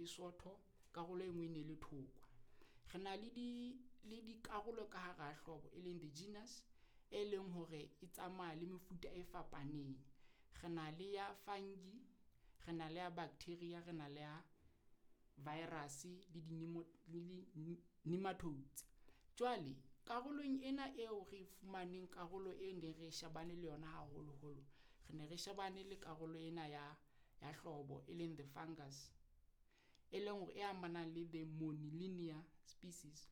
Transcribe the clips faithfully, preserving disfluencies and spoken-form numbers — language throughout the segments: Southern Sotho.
e sotho, karolo e nngwe e ne le thokwa. Re na le di le dikarolo ka hara hlobo e leng the genus, e leng hore e tsamaya le mefuta e fapaneng. Re na le ya fungi, re na le ya bacteria, re na le ya virus le di le nematodes. Jwale karolong ena eo re fumaneng karolo e neng re shebane le yona haholoholo, re ne re shebane le karolo ena ya ya hlobo e leng the fungus, e leng hore e amanang le the Monilinia species.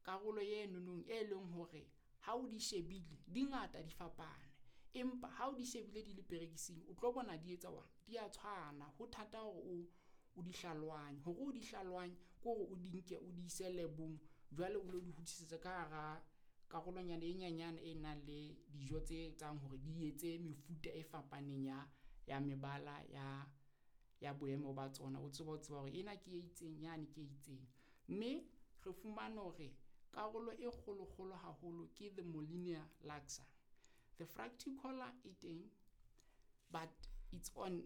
Karolo e nonong e leng hore ha o di shebile di ngata di fapane, empa ha o di shebile di le perekising, o tlo bona di etsa di a tshwana. Ho thata hore o o di hlalohanye hore o di hlalohanye ke hore o di nke o di ise lab-ong jwale o lo di hodisetsa ka hara karolonyana e nyenyane e nang le dijo tse etsang hore di etse mefuta e fapaneng ya ya mebala ya ya boemo ba tsona. O tsebe ho tseba hore ena ke e itseng yane ke e itseng. Mme re fumane hore karolo e kgolo kgolo haholo ke the Molinia laxa. The fructicola e teng, but it's on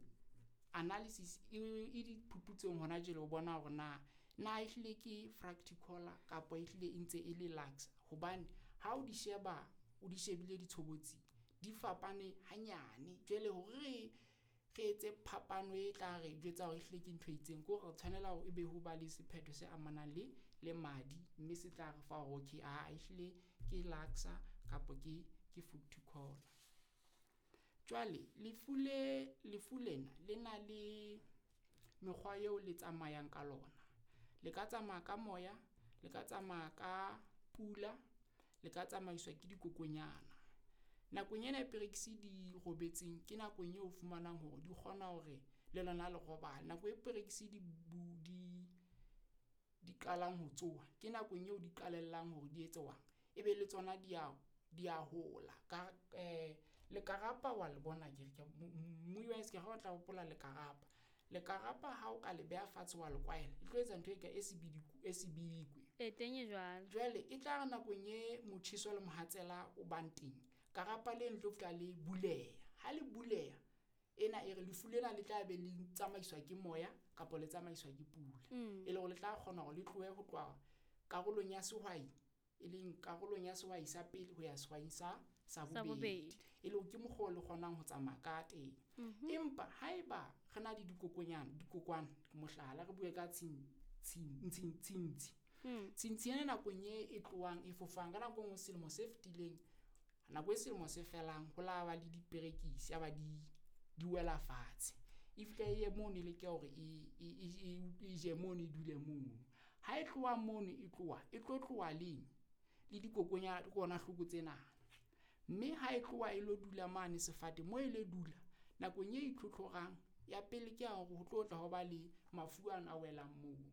analysis e e diphuputsong hona jwale ho bona hore na na ehlile ke fructicola kapa ehlile e ntse e le laxa. Hobane ha o di sheba o di shebile ditshobotsi di fapane hanyane. Jwale hore re re etse phapano e tla re jwetsa hore ehlile ke ntho e itseng, ke hore re tshwanela hore ebe ho ba le sephetho se amanang le le madi, mme se tla re fa hore okay aa ehlile ke laxa kapa ke ke fructicola. Jwale lefu le lefu lena le na le mekgwa eo le tsamayang ka lona. Le ka tsamaya ka moya, le ka tsamaya ka pula, le ka tsamaiswa ke dikokonyana. Nakong ena e perekisi di robetseng ke nakong eo o fumanang hore di kgona hore le lona le robala. Nako e perekisi di bu di di qalang ho tsoha, ke nakong eo di qalellang hore di etse . Ebe le tsona di a di a hola ka lekarapa wa le bona akere wa tla hopola lekarapa. Lekarapa ha o ka le beha fatshe wa le kwaela, e tlo etsa ntho e ka e e sebidikwe. E teng e jwalo. Jwale e tla re nakong e motjheso le mohatsela o bang teng, karapa leno le tlo fihla le buleha. Ha le buleha ena e re lefu lena le tla be le tsamaiswa ke moya kapa le tsamaiswa ke pula. Mm. E le hore le tla kgona hore le tlohe ho tloha karolong ya sehwai, e leng karolong ya sehwai sa pele ho ya sehwai sa sa Sa bobedi. bobedi. E le hore ke mokgwa o le kgonang ho tsamaya ka teng. Mhm. Empa haeba re na le dikokonyana, dikokwana mohlala re bue ka tshing tshing tshing tshintshi. Mm. Tshintshi ena nakong e e tlohang e fofang ka nako e nngwe selemo se fetileng, nako e selemo se felang ho la ba le diperekisi ya ba di di wela fatshe. E fihla e ye mono e leke hore e e e e je mono e dule mono. Ha e tloha mono e tloha, e tlo tloha leng le dikokonyana dikokwanahloko tsena. Mme ha e tloha e lo dula mane sefate moo e lo dula nakong e itlhotlhorang ya pele ke ya hore ho tlo tla ho ba le mafu ana a welang mono.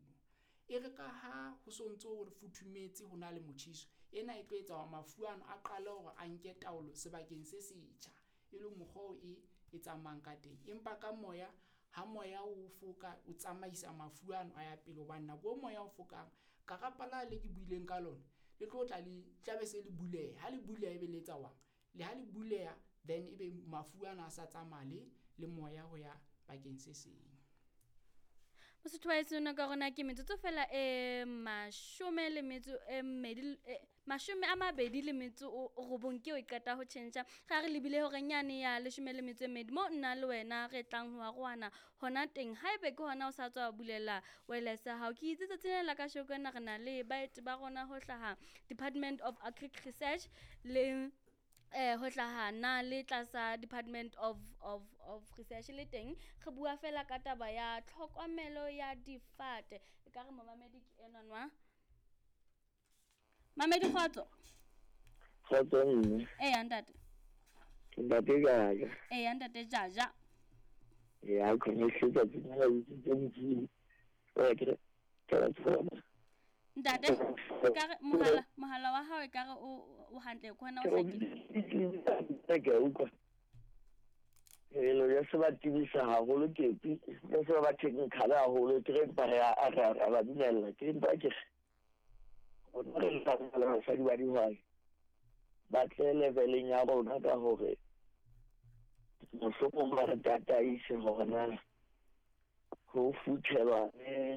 E re ka ha ho so ntso ho futhumetse ho na le motjheso, ena e tlo etsa hore mafu ano a qale hore a nke taolo sebakeng se setjha, e leng mokgwa oo e e tsamayang ka teng. Empa ka moya ha moya o foka o tsamaisa mafu ano a ya pele hobane nako e moya o fokang karapa la le ke buileng ka lona le tlo tla le tla be se le buleha. Ha le buleha ebe le etsa . Le ha le buleha then ebe mafu ana a sa tsamaya le le moya ho ya bakeng se seng. Mosotho wa heso nako ya rona ke metsotso fela e mashome le metso e mmedi e mashome a mabedi le metso o robong ke eo e qeta ho tjhentjha. Ga re lebile horeng yane ya leshome le metso e mmedi mo nna le wena re tlang ho arohana hona teng. Haebe ke hona o sa tswa bulela wireless ya hao, ke itse tsatsing lena la kasheko ena re na le baeti ba rona ho hlaha Department of Agric Research le eh ho hlaha na le tlasa Department of of of Research le teng re bua fela ka taba ya tlhokomelo ya difate. Ekare momamedi ke enwa nwa. Mamedi kgotso. Kgotso mme. Eya ntate. Ntate Jaja. Eya ntate Jaja. Ya khona tsatsing lena la utswitse Modimo. Wa ke ke a tsona. Ntate ekare mohala mohala wa hao ekare o o hantle ke hona o hlakile. Ke a utlwa. Hello, ya se ba tibisa haholo ke ya se ba technical haholo ke re empa re a re a ba dumella ke empa ke rona re le basadi ba dihwai ba tle leveleng ya rona ka hore mohlomong ba re tataise hore na ho futhelwa.